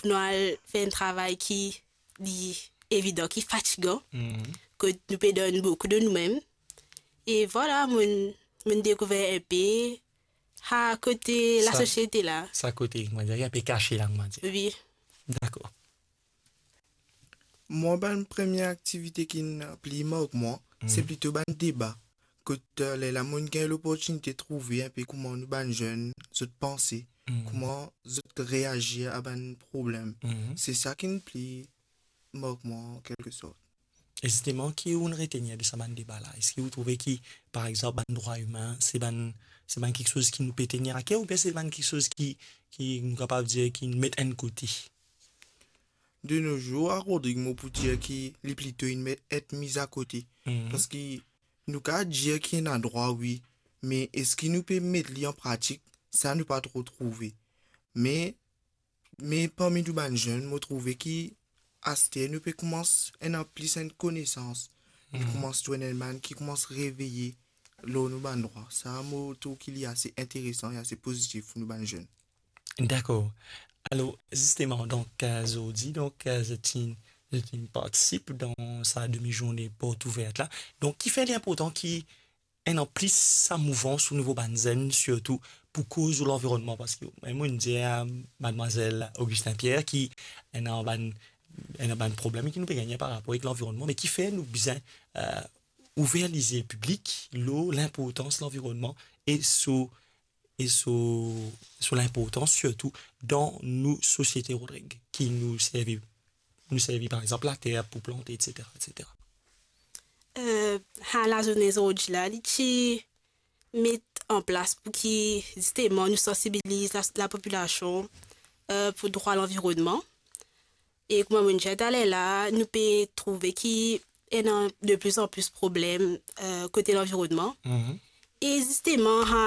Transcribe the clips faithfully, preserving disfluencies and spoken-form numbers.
pou nou al fer enn travay ki li evidan, ki fatigan, Mhm. kot nou pe donn boukou de noumem. E vwala, mo'nn, mo'nn dekouver inpe sa kote Sa, lasosiete la. Sa kote, kouma dir, inpe kase la, kouma dir. Wi. Dakor. Mwa, bann premie aktivite ki'nn pli mark mwa, se Mhm. plito bann deba. Kot, eh, lerla mo'nn gagn loportinite trouve inpe kouma nou bann zenn, zot panse, Mhm. kouma zot reazir a bann problem. Mhm. Se sa ki'nn pli mark mwa, an kelke sort. E zisteman, ki ou'nn retenir de sa bann deba la? Eski ou trouve ki, par exanp, bann drwa imin, se bann, se bann kiksoz ki nou pe tenir aker, oubien se bann kiksoz ki, ki nou kapav dir ki met enn kote? De nos jours, a Rodrig, mo pou dir ki li plito inn met, et miz akote. Mhm. Parski nou kapav dir ki ena drwa, wi, me eski nou pe met li an pratik? Sa nou pa tro trouve. Me, me parmi nou bann zenn, mo trouve ki aster nou pe koumans ena plis enn konesans. Nou Mhm. koumans trouv enn bann ki koumans reveye lor nou bann drwa. Sa, mo trouv ki li ase interesan e ase pozitif pou nou bann zenn. Dakor. Alor, zisteman, donk, eh, zordi, donk, eh, zot inn, zot inn partisip dan sa demi-zourne port ouver la. Donk, kifer li inportan ki ena plis sa mouvans o nivo bann zenn, sirtou pou koz lor lanvironnman, parski mem mo'nn dir, eh, madmwazel Augustin Pierre ki ena bann, ena bann problem ki nou pe gagne par rapor avek lanvironnman, me kifer nou bizin, eh, ouver lizie piblik lor linportans lanvironnman e so, e so, so linportans sirtou dan nou sosiete, Rodrig, ki nou servi, nou servi par exanp later pou plante, et cetera, et cetera. Eh, sa lazourne zordi la, li ti met an plas pou ki, zisteman, nou sansibiliz la, lapopilasion, eh, pou drwa lanvironnman. E kouma mo'nn dir taler la, nou pe trouve ki ena de plis an plis problem, eh, kote lanvironnman. Mhm. E zisteman, sa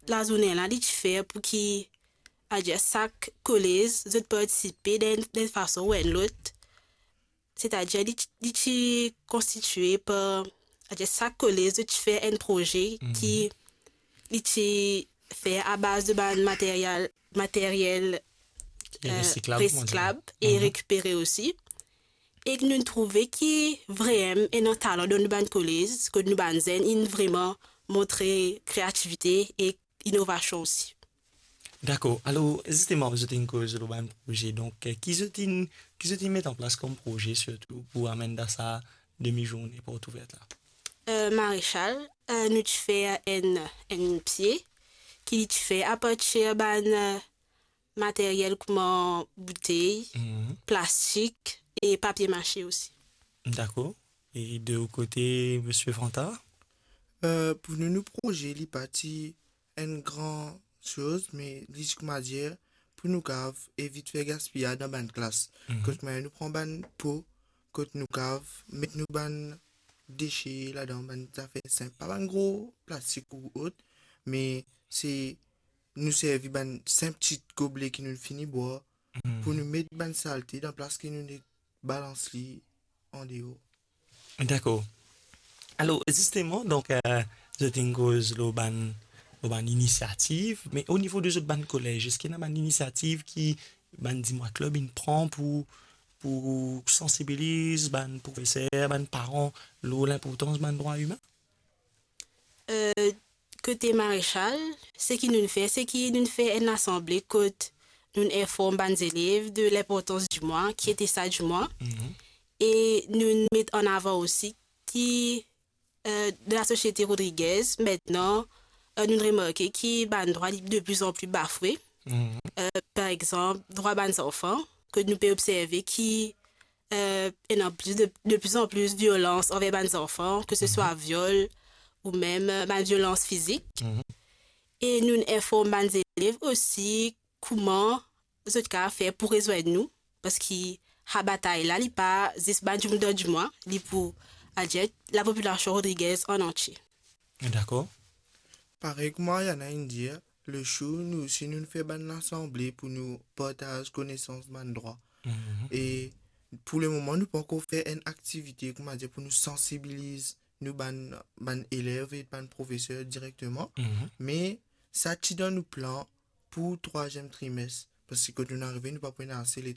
lazourne la, li ti fer pou ki, adir, sak kolez, zot partisipe dan, dan enn fason ou enn lot. Setadir, li ti, li ti konstitie par, adir, sak kolez, zot ti fer enn proze Mhm. ki li ti fer a baz de bann materiel, materiel, E eh, resiklab, kouma dir. Resiklab e Mhm. rekipere osi. E nou trouve ki vremem ena talan dan nou bann kolez, kot nou bann zenn inn vreman montre kreativite e inovasion osi. Dakor. Alor, zisteman, zot inn koz lor bann proze. Donk, eh, ki zot inn, ki zot inn met an plas kom proze, sirtou pou amenn dan sa demi-zourne port ouver la? Eh, Marechal, eh, nou ti fer enn, enn pie ki li ti fer apartir bann, eh, materiel kouma boutey, Mhm. plastik e papie mase osi. Dakor. E de ou kote, Misie Vantard? Eh, pou nou, nou proze, li pa ti enn gran soz, me li ti, kouma dir, pou nou kav evit fer gaspiyaz dan bann klas. Mhm. Kot mwa nou pran bann po, kot nou kav met nou bann dese ladan, bann zafer sinp, pa bann gro plastik ou ot, me se nou servi bann sinp ti goble ki nou fini bwar, Mhm. pou nou met bann salte dan plas ki nou net balans li andeor. Dakor. Alor, zisteman, donk, eh, zot inn koz lor bann, lor bann inisiativ, me o nivo de zot bann kolez, eski ena bann inisiativ ki bann Dimwa Club inn pran pou, pou sansibiliz bann profeser, bann paran lor linportans bann drwa imin? Eh, kote Marechal, seki nou fer, seki nou fer enn lasanble kot nou inform bann zelev de linportans dimwa, ki ete sa dimwa. Mhm. E nou met an avan osi ki, eh, dan lasosiete Rodriguez, aster, eh, nou remarke ki bann drwa li de pli an pli bafwe. Mhm. Eh, par exanp, drwa bann zanfan, ke nou pe observe ki, eh, ena plis de, de pli an pli violans anver bann zanfan, ke se swa Mhm. viol ou mem, eh, bann violans fizik. Mhm. E nou inform bann zelev osi kouma zot kav fer pou rezwenn nou, parski sa batay la, li pa zis bann dimoun dan dimwa, li pou, adir, lapopilasion Rodriguez an antie. Dakor. Parey kouma Mariana inn dir, le show, nou osi, nou fer bann lasanble pou nou partaz konesans bann drwa. Mhm. E pou lemoman, nou pankor fer enn aktivite, kouma dir, pou nou sansibiliz nou bann, bann elev e bann profeser direkteman. Mhm. Me sa ti dan nou plan pou trwaziem trimes, parski kot nou arive, nou pa pou ena ase letan